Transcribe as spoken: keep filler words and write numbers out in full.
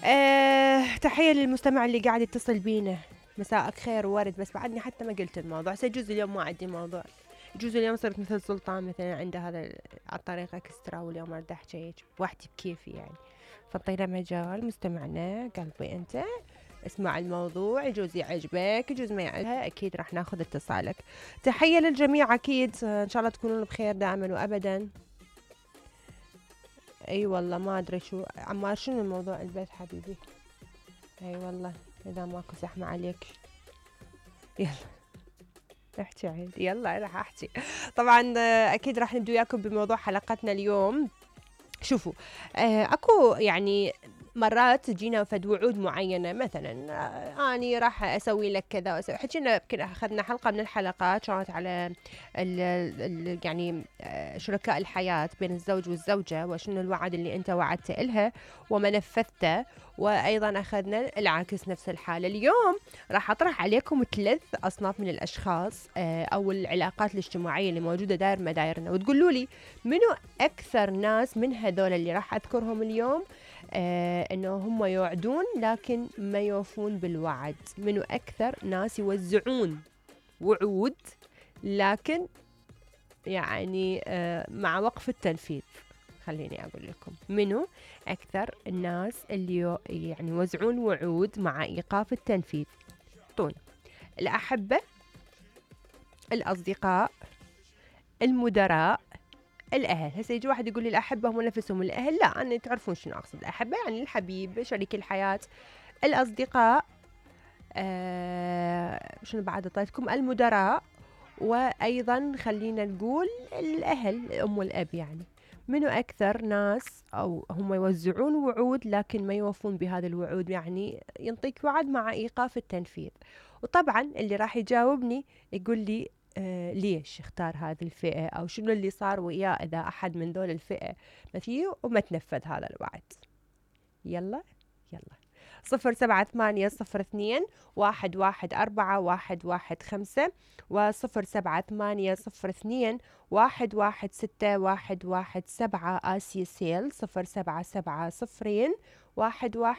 أه تحية للمستمع اللي قاعد يتصل بينا. مساءك خير وورد، بس بعدني حتى ما قلت الموضوع، سيجوز اليوم ما عندي موضوع، يجوز اليوم صرت مثل سلطان مثلا عنده هذا على الطريقة اكسترا، واليوم ارد احكي بوحدي بكيفي يعني. فاعطينا مجال مستمعنا قلبي انت اسمع الموضوع، يجوز يعجبك يجوز ما يعجبها، اكيد راح ناخذ اتصالك. تحية للجميع اكيد، ان شاء الله تكونون بخير دائما وابدا. اي والله ما ادري شو عمار، شنو الموضوع البيت حبيبي؟ اي والله اذا ماكو زحمة عليك يلا احكي عيد، يلا راح احكي. طبعا اكيد راح نبدو وياكم بموضوع حلقتنا اليوم. شوفوا آه اكو يعني مرات تجينا فد وعود معينة، مثلا آه اني راح اسوي لك كذا واسوي، حكينا يمكن اخذنا حلقة من الحلقات كانت على ال ال يعني آه شركاء الحياة بين الزوج والزوجة، وشنو الوعد اللي انت وعدت إلها وما نفذته، وايضا اخذنا العكس نفس الحالة. اليوم راح اطرح عليكم ثلاث اصناف من الاشخاص آه او العلاقات الاجتماعية اللي موجودة داير مدايرنا، وتقولوا لي منو اكثر ناس من هذول اللي راح اذكرهم اليوم آه انه هم يوعدون لكن ما يوفون بالوعد. منو اكثر ناس يوزعون وعود لكن يعني آه مع وقف التنفيذ. خليني اقول لكم منو اكثر الناس اللي يعني يوزعون وعود مع ايقاف التنفيذ. طول الاحبة، الاصدقاء، المدراء، الاهل. هسه يجي واحد يقول لي الاحبه هم نفسهم الاهل، لا انا تعرفون شنو اقصد. الاحبه يعني الحبيب شريك الحياه. الاصدقاء آه شنو بعد اعطيتكم؟ المدراء، وايضا خلينا نقول الاهل الام والاب. يعني منو اكثر ناس او هم يوزعون وعود لكن ما يوفون بهذه الوعود، يعني ينطيك وعد مع ايقاف التنفيذ. وطبعا اللي راح يجاوبني يقول لي آه ليش اختار هذه الفئة، أو شنو اللي صار وياه إذا أحد من ذول الفئة مثيه وما تنفذ هذا الوعد. يلا يلا صفر سبعة ثمانية صفر اثنين واحد واحد أربعة واحد واحد خمسة، وصفر سبعة ثمانية صفر اثنين واحد واحد ستة واحد واحد سبعة. آسيا سيل صفر سبعة سبعة صفرين واحد واحد